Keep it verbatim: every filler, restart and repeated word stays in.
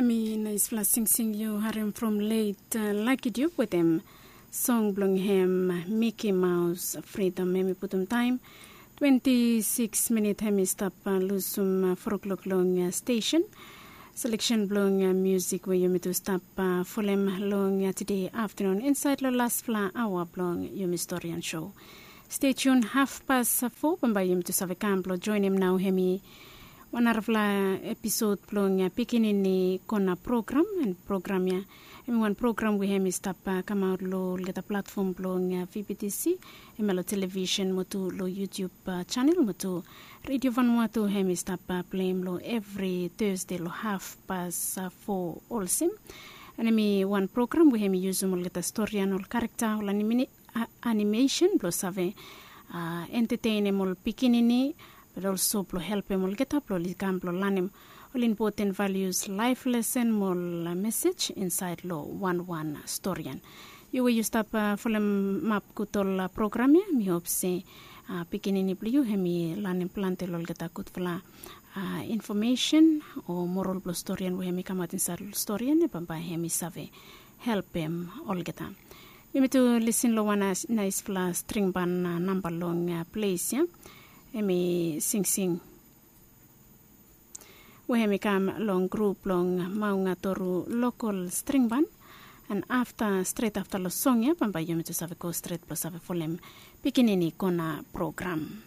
Mi naispela singsing yu harim from let Lucky Dube wetem song bilong hem Mickey Mouse Freedom. Hem i putum taim twenti sikis minit hem i stap lusim fo klok long stesen. Selection bilong musik we yumi tu stap folem long tide aftanun insait long laspela aua bilong yumi storian show. Stay tuned half past four bambae yumi tu save kam bilong joinim nau hem i wan narafala episod bilong pikinini kona program. And program ya em i wan program we hem i stap kamaut long olgeta platfom bilong vptc, em ya long television mo tu long YouTube channel mo tu Radio Vanuatu. Hem i stap pleim long evri Thursday long half past four olsem. And em i wan program we hem i yusum olgeta storian, ol karekta, ol animation bilong save entetenim ol pikinini, but also bilong helpim olgeta bilong oli kam bilong lanim ol impoten values, laif lesen mo ol mesej insait long wan wan storian. Yu we yu stap folemap gut ol program ya, mi hop se pikinini bilong yu hem i lanim planti long olgeta gutfala infomesen o moral bilong storian we hem i kamap insait long storian ya, bambae hem i save helpim olgeta. Yumi tu lisin long wan naispela stringban namba long ples ya. Em i singsing we em i kam long grup bilong Maungatoru Lokol Stringban. And afta, stret afta long song ya, bambae yumi tu save go stret bilong save folem pikinini kona program.